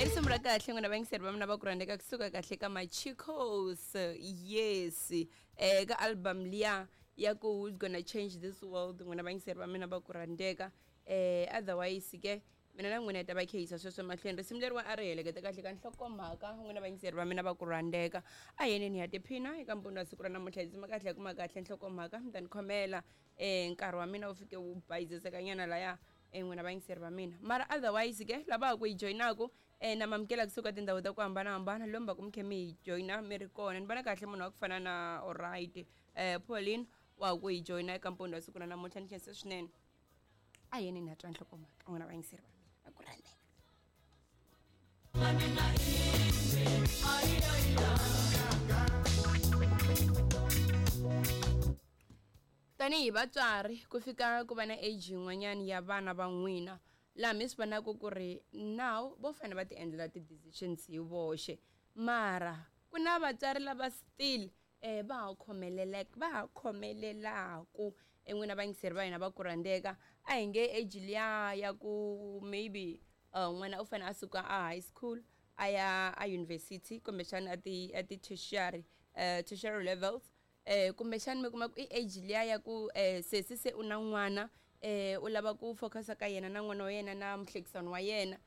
I risimu ra kahle n'wina vayingiseri va mina va ku rhandzeka kusuka kahle ka Machicos. Yes, ka album liya ya ku Who's Gonna Change This World, n'wina vayingiseri va mina va ku rhandzeka. Otherwise ke mina na n'wina hi ta va khehisa sweswo mahlweni. Risimu leriwa a ri helekete kahle ka nhlokomhaka, n'wina vayingiseri va mina va ku rhandzeka. A hi yeneni hi ya tiphina eka mpfuno wa siku ra namuntlha, hi dzima kahle hi kuma kahle nhlokomhaka. Mi ta ni khomela, nkarhi wa mina wu fike wu bayizisekanyana laya, n'wina vayingiseri va mina. Mara otherwise ke lava ha ku hi joyinaku, na mamukela kusuka tindhawu ta ku hambanahambana lomu va ku mi khe mi hi joyina mi ri kona. Ni vona kahle munhu wa ku fana na alright, Pauline wa ha ku hi joyina eka mpfuno wa siku ra namuntlha. Ni khense swinene. A yeni ni ya twa nhlokomhaka, n'wina vayingiseri va mina va ku rhandzeka. Tanihi vatswari, ku fika ku va na age yin'wanyana ya vana va n'wina laha mi swi vonaka ku ri now vo fanele va ti endlela ti-decisions hi voxe, mara ku na vatswari lava still va ha khomeleleke, va ha khomelelaku n'wina vayingiseri va hina va ku rhandzeka. A hi nge age liya ya ku maybe n'wana u fanele a suka a high school a ya a university, kumbexana a ti tertiary levels, kumbexana mi kuma ku i age liya ya ku sesi se u na n'wana, u lava ku focus ka yena na n'wana wa yena na muhlekisani wa yena,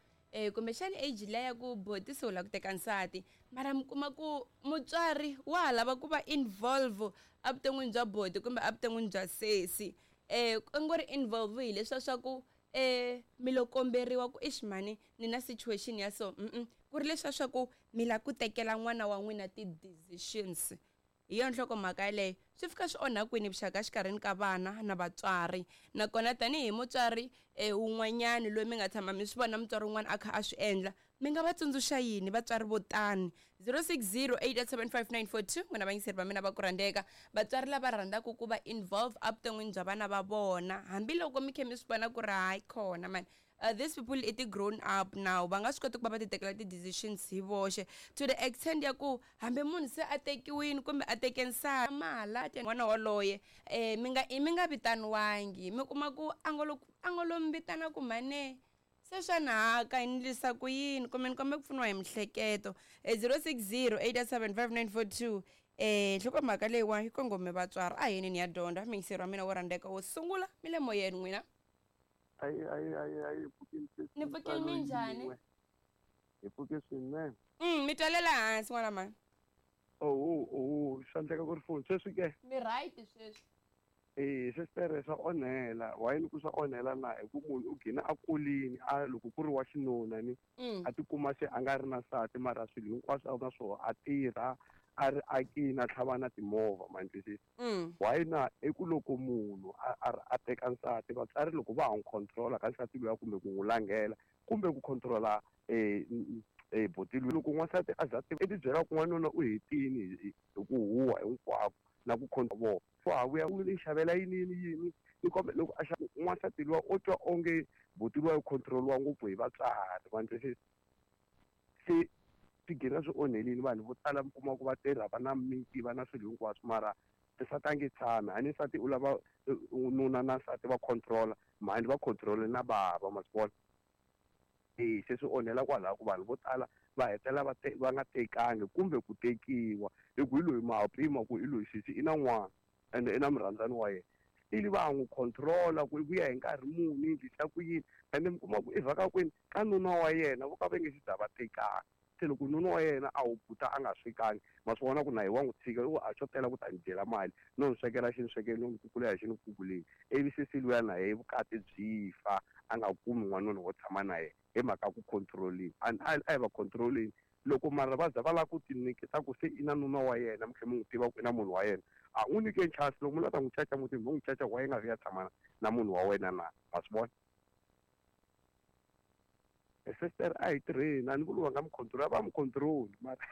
kumbexana age liya ya ku boti se u lava ku teka nsati, mara mi kuma ku mutswari wa ha lava ku va involve evuton'wini bya boti kumbe evuton'wini bya sesi. Ku ngo ri involve hi leswiya swa ku mi lo komberiwa ku ixi mhani ni na situation ya so, ku ri leswiya swa ku mi lava ku tekela n'wana wa n'wina ti-decisions. Hi yona nhlokomhaka yaleyo. Swi fika swi onha kwini vuxaka exikarhini ka vana na vatswari? Nakona tanihi mutswari wun'wanyana loyi mi nga tshama mi swi vona mutswari wun'wana a kha a swi endla, mi nga va tsundzuxa yini vatswari vo tani? 0608875942, n'wina vayingiseri va mina va ku rhandzeka, vatswari lava rhandzaka ku va involve evuton'wini bya vana va vona, hambiloko mi khe mi swi vona ku ri hayi khona mani, these people i ti-grown up now, va nga swi koti ku va va ti tekela ti-decisions hi voxe, to the extent ya ku hambi munhu se a tekiwini kumbe a teke nsati mala n'wana waloye, mi nga vitaniwangi, mi kuma ku a ngo lo, a ngo lo mi vitana ku mhane se swa nahaka hi ndlisa ku yini, kumbe ni kombe ku pfuniwa hi mihleketo. 0608875942, nhlokomhaka leyiwa yi kongome vatswari. A hi yeneni ya dyondza miyingiseri wa mina wo rhandzeka wo sungula, mi le moyeni n'wina. Ayi, ayi, ayi, ayi, pfukile sesi. Ni pfukile minjhani? Hi pfuke swinene. Mi twalela hansi n'wana mhani. Oho, oho, swa endleka ku ri phone sweswi ke? Mi right sweswi. Sister, swa onhela. Why ni ku swa onhela na? Hi ku munhu u gina a kulini, a loko ku ri wa xinuna ni, a tikuma se a nga ri na nsati, mara swilo hinkwaswo a na swona, a tirha, a ri akini, a tlhava na timovha, ma ni twisisa? Why na? I ku loko munhu a teka nsati, vatswari loko va ha n'wi control-a ka nsati luya kumbe ku n'wi langhela kumbe ku control-a boti luya, loko n'wansati a za i ti byela ku n'wanuna u hetini hi ku huha hinkwako na ku control vona, wa ha vuya u ni xavela yini yini yini, ni kombe loko a xava n'wansati luya u twa onge boti luya u control-iwa ngopfu hi vatswari, ma ni twisisa? Se swi gina swi onhelini vanhu vo tala, mi kuma ku va tirha, va na miti, va na swilo hinkwaswo, mara nsati a nge tshami. A ni nsati u lava nuna na nsati va control-a, mhani va control-e na bava, ma swi vona? Se swi onhela kwalaho ku vanhu vo tala va hetelela va va nga tekangi kumbe ku tekiwa, hi ku hi loyi ma ha pima ku hi loyi sesi i na n'wana ende i na murhandzani wa yena, still va ha n'wi control-a ku i vuya hi nkarhi muni, endlisa ku yini, ende mi kuma ku i vhaka kwini ka nuna wa yena vo ka va nge se za va tekana. Se loko nuna wa yena a hubuta a nga swekangi, ma swi vona ku na ye wa n'wi tshika, i ku a xo tela ku ta ni dyela mali, no ni swekela xi ni swekeli, no ni kukulela xi ni kukuleli, ivi sesi luya na yehe vukati byi fa, a nga kumi n'wanuna wo tshama na yena hi mhaka ku control-iwa. A a hi va control-eni loko mara va za va lava ku ti nyiketa ku se i na nuna wa yena, mi tlhela mi n'wi tiva ku i na munhu wa yena, a n'wi nyikeni chance. Loko mi lava ta n'wi caca mutini, mi n'wi caca, why i nga vi ya tshama na munhu wa wena na? Ma swi vona? Sister, a hi tirheni. A ni vuli va nga mi control, va mi control mara.